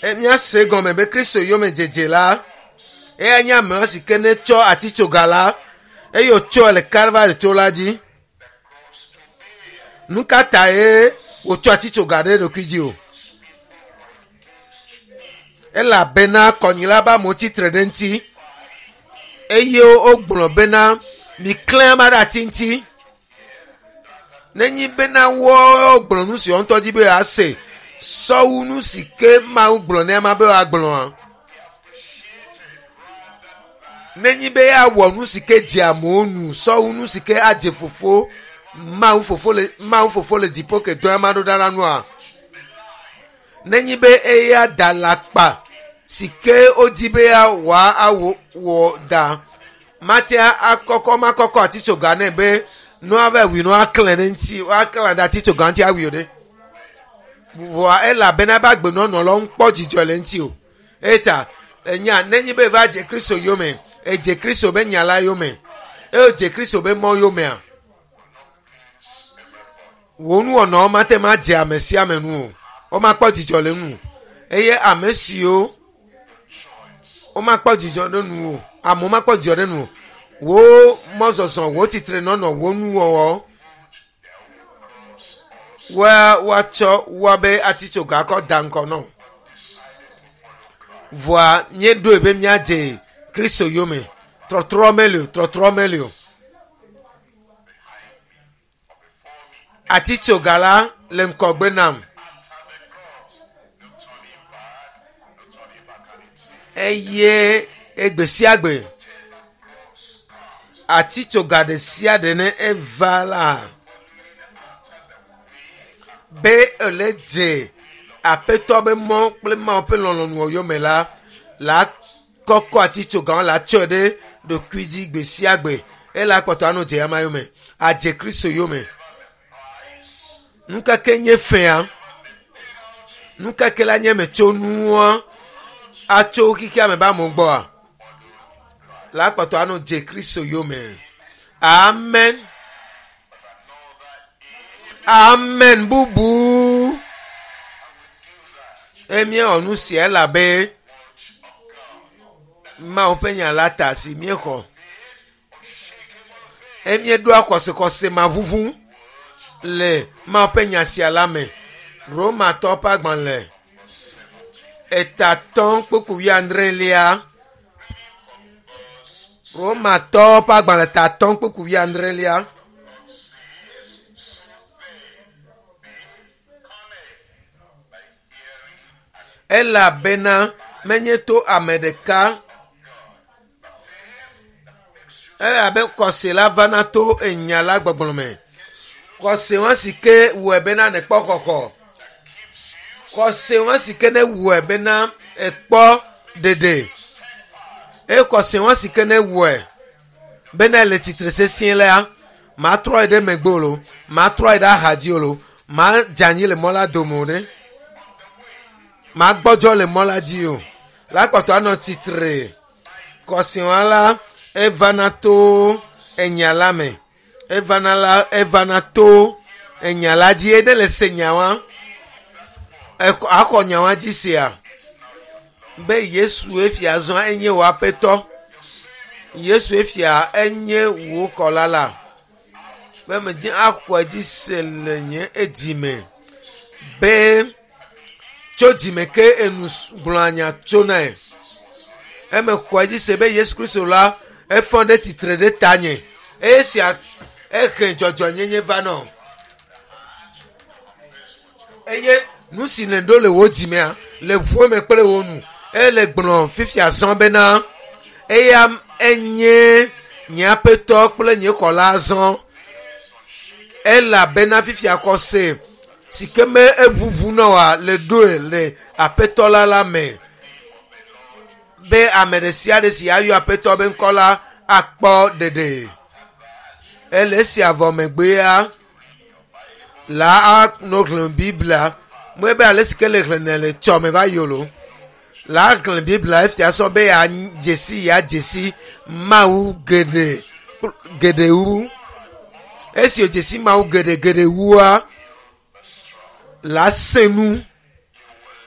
E, míase gɔme be Kristo yome dzedze la, eya nye ame si ke ne tsɔ atitsoga la eye wòtsɔe le Kalvari to la dzi. Nu ka tae wòtsɔ atitsoga ɖe eɖokui dzi o? Elabena kɔnyila be amewo tsitre ɖe eŋuti eye wogblɔ bena miklẽ ame ɖe ati ŋuti. Nenyi bena wogblɔ nu si woawo ŋutɔ dzi be yewoase sɔwu nu si ke Mawu gblɔ ne ama be woagblɔa. Nenyi be yeawɔ nu si ke dze amewo nu sɔwu nu si ke adze fofo Mawu fofo le Mawu fofo le dziƒo ke dɔ ama ɖo ɖa la nua. Nenyi be eya da alakpa si ke wodi be yeawɔ awɔ wɔ da mate akɔkɔ makɔkɔ atitsoga nɛ be nua va wui nua klẽ ɖe ŋuti woaklã ɖe atitsoga ŋuti awui o ɖe. Vɔa elabena ebe agbenɔnɔ la womekpɔ dzidzɔ le eŋuti o. Eya ta enya nenye be eva dze Kristo yome, edze Kristo be nya la yome, eye wòdze Kristo be mɔ yomea, wò nuwɔnawo mate ŋu adze ame sia ame nu o. Womakpɔ dzidzɔ le enu o. Eye ame siwo womakpɔ dzidzɔ ɖe nu o, amewo makpɔ dzidzɔ ɖe nu o. Wò mɔzɔzɔ, wò tsitrenɔnɔ, wò nuwɔwɔ, woa woatsɔ woabe atitsoga kɔ da ŋgɔ nɔ. Vɔa míeɖoe be míadze Kristo yome. Trɔtrɔ meli o, trɔtrɔ meli o. Atitsoga la le ŋgɔgbe nam. Eye egbe sia gbe atitsoga ɖe sia ɖe ne eva la be ele dze aƒetɔ be mɔ kple Mawu ƒe lɔlɔ̃nu yome la la kɔkɔ atitsoga la tsɔe ɖe ɖokui dzi gbe sia gbe eye la kpɔtɔ anɔ dze ama yome adze Kristo yome. Nu ka ke nye fea? Nu ka ke la nye metsonua atso xexea me be amewo gbɔa? La kpɔtɔ anɔ dze Kristo yome. Amen. Amen bubu. Eye míewɔ nu sia elabe Mawu ƒe nya la ta si míexɔ. Eye míeɖoa xɔsexɔse maʋuʋu le Mawu ƒe nya sia la me. Romatɔ ƒe agbalẽ etatɔ kpukpu wuiadrelia. Romatɔ ƒe agbalẽ tatɔ kpukpu wuiadrelia. Elabena menye to ame ɖeka elabe xɔse la vana to enya la gbɔgblɔ me. Xɔse wa si ke wɔe bena nèkpɔ xɔxɔ. Xɔse wa si ke ne wɔe bena ekpɔ ɖeɖe. Eye xɔse wa si ke ne wɔe bena ele tsitre sesĩe la, matrɔ yi ɖe megbe o lo, matrɔ yi ɖe axa dzi o lo, madze anyi le mɔ la dome o ɖe. Magbɔdzɔ le mɔ la dzi o. La kpɔtɔ anɔ tsitre. Xɔse wa la evana to enya la me. Evana la evana to enya la dzi. Eye ne le se nya wa, axɔ nya wa dzi sia be Yesu efia zɔa enye wò aƒetɔ. Yesu efia enye wò xɔla la. Be medze axɔe dzi se le nye edzime be tso dzime ke enu gblɔa nya tsonae. Eme xɔe dzi se be Yesu Kristo la efɔ ɖe tsitre ɖe tanye. Eye sia ehe dzɔdzɔnyenye va nɔ. Eye nu si nèɖo le wò dzimea le ʋu eme kple wò nu ele gblɔ fifia zɔ bena eya enye nye aƒetɔ kple nye xɔla zɔ. Elabena fifia xɔse si ke me eʋuʋu na wòa le ɖoe le aƒetɔ la la me be ame ɖe sia ɖe si ayɔ aƒetɔ be ŋkɔ la akpɔ ɖeɖe. Ele esia vɔ megbea la anɔ xlẽm Biblia. Mɔe be ale si ke le xlẽnɛ le tsɔme va yi o lo. La xlẽ Biblia efia sɔ be yeadze si yeadze si Mawu geɖe geɖe wu. Esi wòdze si Mawu geɖe geɖe wua, la sẽ nu.